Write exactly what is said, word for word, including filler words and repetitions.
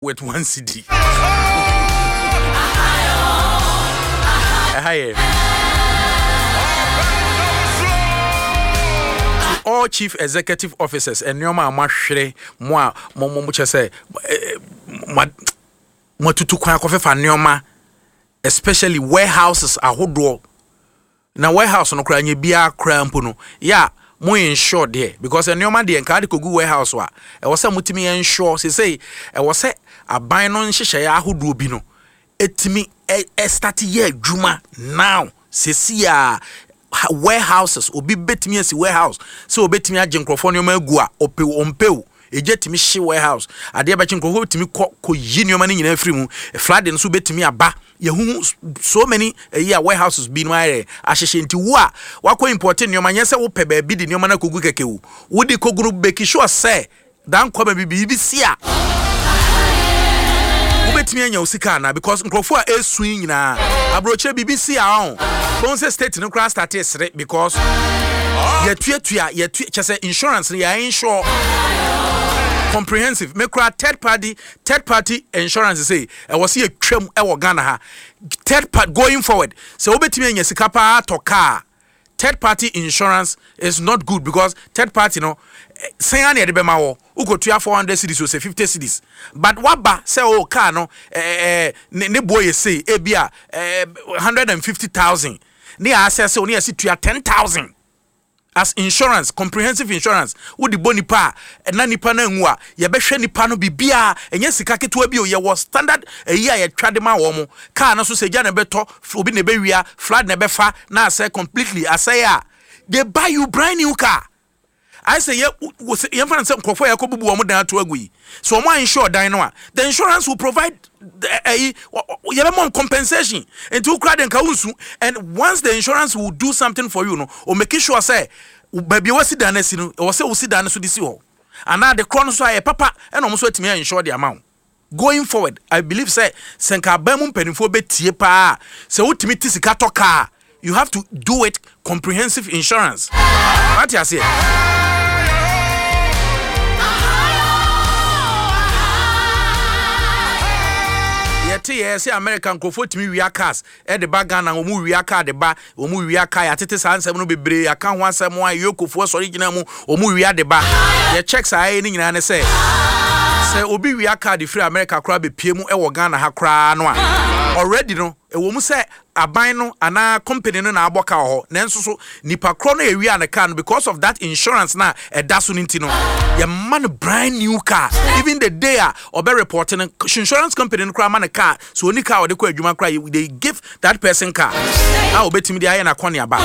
With one cedi. Ɛha yɛ to all chief executive officers, nneɛma a moahwere mo a mo mo mo kyɛ sɛ mo moatutu kwan akɔfefa nneɛma, especially warehouses ahodoɔ. Na warehouse no koraa nyɛ biara koraa mpo no yɛ a mo insure deɛ, because nneɛma deɛ nka ade kɔgu warehouse a ɛwɔ sɛ motumi insure. Sesei ɛwɔ sɛ aban no nhyehyɛeɛ ahodoɔ bi no ɛtumi ɛ start yɛ adwuma now. Sesi a warehouses, obi bɛtumi asi warehouse sɛ obɛtumi agye nkurɔfoɔ nneɛma agu a ɔpɛ ɔmpɛ o, egya tumi hye warehouse, adeɛ bɛkye nkurɔfoɔ tumi kɔ kɔ yi nneɛma no nyinaa firi mu. Flood nso bɛtumi aba. Yɛhuhu so many ɛyi a warehouses bi no ayɛ ahyehyɛ. Nti wo a wakɔ import nneɛma, nyɛ sɛ wopɛ baabi de nneɛma no akɔgu kɛkɛ o. Wode kɔgu no, make sure sɛ dan kɔma bi biribi si a wobɛtumi anya wo sika anaa, because nkurɔfoɔ a ɛsu yi nyinaa aburokyerɛ biribi si a ɔn bɔn sɛ state no koraa start sere because yɛtuatua yɛtua kyɛ sɛ insurance no yɛ insure comprehensive. Me koraa, third party third party insurance sɛ ɛwɔ sɛ yɛtwam ɛwɔ Ghana ha. Third party, going forward, sɛ wobɛtumi anya sika paa tɔ car, third party insurance is not good, because third party no sɛn a na yɛde bɛma wɔ wokɔtua four hundred cedis o sɛ fifty cedis, but waba sɛ o car no ɛɛ ne ne boɔ yɛ sei, ebi a ɛɛ hundred and fifty thousand ne yɛ asɛ sɛ o ne yɛ si tua ten thousand as insurance. Comprehensive insurance, wode bɔ nipa a na nipa no anwu a, yɛbɛhwɛ nipa no biribiaa. Ɛnyɛ sika ketewa bi o. Yɛwɔ standard ɛyi a yɛtwa de ma wɔ mo. Car no so sɛ gya na ɛbɛtɔ obi na ɛbɛwia, flood na ɛbɛfa na asɛ completely asɛe a, they buy you brand new car. Ayɛ sɛ yɛ yɛmfa no sɛ nkurɔfoɔ a yɛkɔ bubu wɔn dan ato agu yi so, wɔn a insure dan no a, the insurance will provide ɛyi, yɛbɛma compensation. Nti wokura de nka wonsu, and once the insurance will do something for you no, o make sure sɛ baabi a wasi dan no asi no, ɛwɔ sɛ wosi dan no so de si hɔ anaa de korɔ no so ayɛ papa, ɛna ɔmo nso atumi ayɛ insure de ama wo. Going forward, I believe sɛ sɛ nka aban mu mpanimfoɔ bɛtie paa sɛ wotumi te sika tɔ kaa, you have to do it comprehensive insurance. Wate aseɛ? Yɛte yɛ sɛ America nkurɔfoɔ tumi wia cars ɛde ba Ghana, wɔn wia car de ba, wɔn wia car. Yɛatete saa nsɛm no bebree aka ho asɛm a yokofoɔ sɔre gyina mu, wɔn wia de ba. Yɛ check saa yɛ ne nyinaa ne sɛ sɛ obi wia car de firi America koraa bepie mu ɛwɔ Ghana ha koraa no a, already no ɛwɔ mu sɛ aban no anaa company no na abɔ car wɔ hɔ, nanso so nipa korɔ no ewia ne car no, because of that insurance na ɛda so no nti no, yɛma no brand new car. Even the day a ɔbɛ report no, insurance company no koraa ma no car. So oni car ɔde kɔ adwuma koraa, they give that person car a obetumi de ayɛ n'akɔneaba.